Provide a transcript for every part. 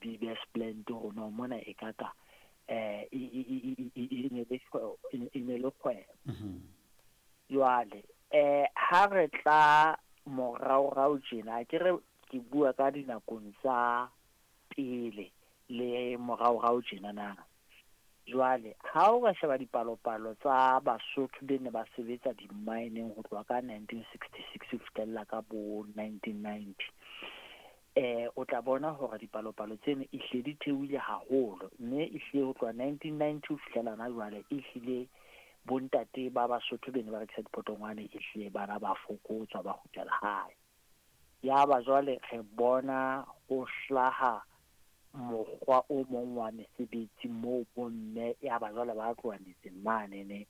di best plant rona mona e ka ka e ne le e ne le kgwebo. Jwale ha re tla moraorao tjena, ke re ke bua ka dinakong tsa pele le moraorao tjena na. Jwale ha o ka sheba dipalopalo tsa Basotho be ne ba sebetsa di-mine-eng ho tloha ka 1966 ho fihlella ka bo 1990, o tla bona hore dipalopalo tseno ehlile di theohile haholo, mme ehlile ho tloha 1990 ho fihlela hona jwale, ehlile bontate ba Basotho be ne ba rekisa dipotongwane ehlile bana ba fokotswa, ba kgutlela hae. Ya ba jwale re bona ho hlaha mokgwa o mong wa mesebetsi moo bomme ya ba jwale ba tloha metseng manene,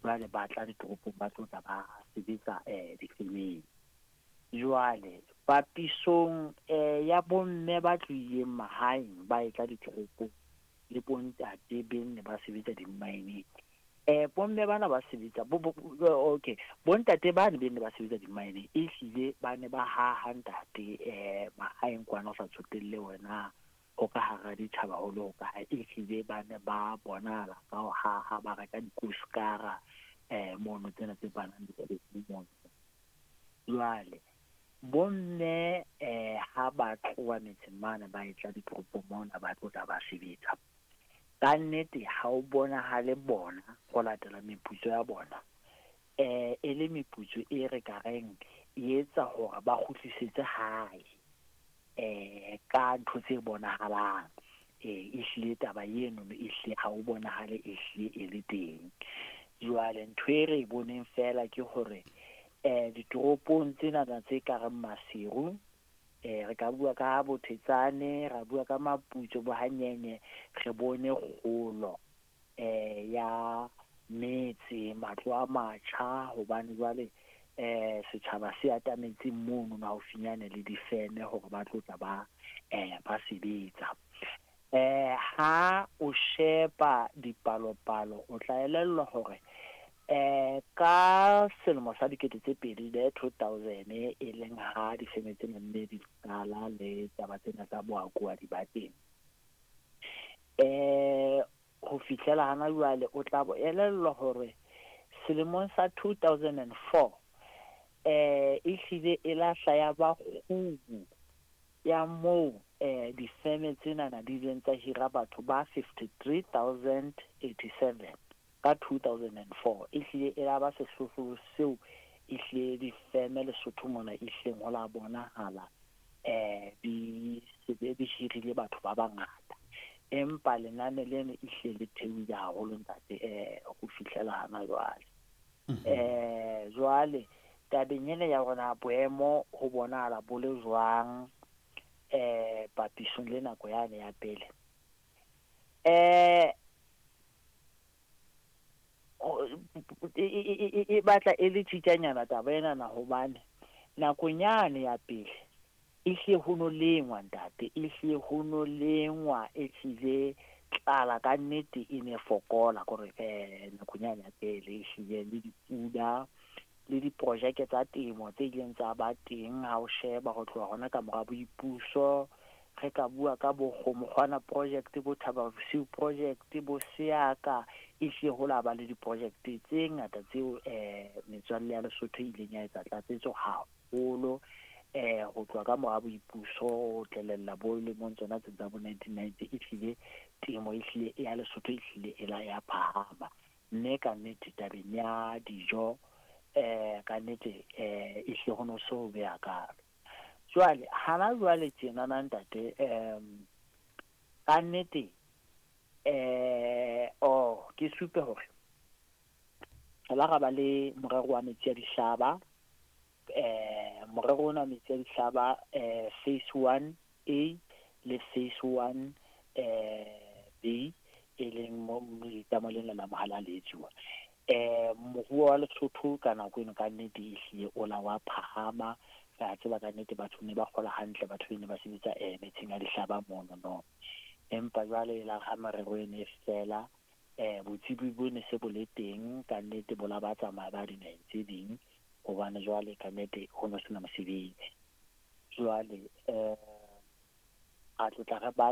jwale ba tla ditoropong, ba tlo tla ba sebetsa difemeng. Jwale papisong ya bomme ba tlohileng mahaeng ba etla ditoropong le bontate be ne ba sebetsa di-mine-eng, bomme bana ba sebetsa bo, bo, okay, bontate bane be ne ba sebetsa di-mine-eng ehlile ba ne ba haha, ntate, mahaeng kwana, ho sa tsotelle wena ho ka hara ditjhaba ho le ho kae, ehlile ba ne ba bonahala ka ho haha, ba reka dikoskara mono tsena tse banang dikgomo mono. Jwale bomme ha ba tloha metseng mane ba etla ditoropong mona ba tlo tla ba sebetsa, ka nnete ha o bonahale bona ho latela meputso ya bona e le meputso e re ka reng e etsa hore ba kgutlisetse hae ka ntho tse bonahalang. Ehlile taba eno ehlile ha o bonahale ehlile e le teng. Jwale ntho e re e boneng fela ke hore ditoropong tsenana tse ka reng Maseru, re ka bua ka Bothetsane, ra bua ka Maputso, bo Hanyenye, re bone kgolo ya metse, matlo a matjha, hobane jwale setjhaba se atametse mono haufinyane le difeme hore ba tlo tla ba ba sebetsa. Ha o sheba dipalopalo, o tla elellwa hore ka selemo sa 2000 le 2000, e leng ha difeme tsena nne di qala le taba tsena tsa boakoadi ba teng ho fihlela hana jwale, o tla bo elellwa hore selemong sa 2004 ehlile e lahla ya ba kgubu ya moo difeme tsenana di ileng tsa hira batho ba 53,087 ka 2004. Ehlile e la ba sehlohlolo seo ehlile difeme Lesotho mona ehlileng ho la bonahala di sebe di hirile batho ba bangata, empa lenane leno ehlile le theohile haholo, ntate, ho fihlela hana jwale. Jwale tabeng ena ya rona, boemo ho bonahala bo le jwang papisong le nako yane ya pele? E batla e le tjitjanyana taba enana, hobane nakong yane ya pele ehlile ho no lengwa, ntate, ehlile ho no lengwa, ehlile tlala ka nnete e ne fokola kore nakong yane ya pele ehlile le dipula le diprojeke tsa temo tse ileng tsa ba teng. Ha o sheba ho tloha hona ka mora boipuso, re ka bua ka bo Kgomokgwana project, bo Thaba Bosiu project, bo Seaka, ehlile ho la ba le diprojekte tse ngata tseo metswalle ya Lesotho e ileng ya etsa tlatsetso haholo ho tloha ka mora boipuso ho tlelella bo lemong tsona tse tsa bo 1990. Ehlile temo ehlile ya Lesotho ehlile e la ya phahama, mme ka nnete tabeng ya dijo ka nnete ehlile ho no so be hakalo. Jwale hana jwale tjenana, ntate, ka nnete oh, ke supe hore re la ra ba le morero wa metsi a dihlaba. Morero ona wa metsi a dihlaba, phase 1 A le phase 1 B, e leng mo letamo lena la Mohalaletsuwa. Moruo wa Lesotho ka nako eno ka nnete ehlile o la wa phahama. Re a tseba ka nnete batho ne ba kgola hantle, batho ne ba sebetsa metsing a dihlaba mono no. Empa jwale la ha merero ene e fela, botsebi bo ne se bo le teng, ka nnete bo la ba tsamaya ba dinaheng tse ding, hobane jwale ka nnete ho no sena mosebetsi. Jwale ra tlotla re ba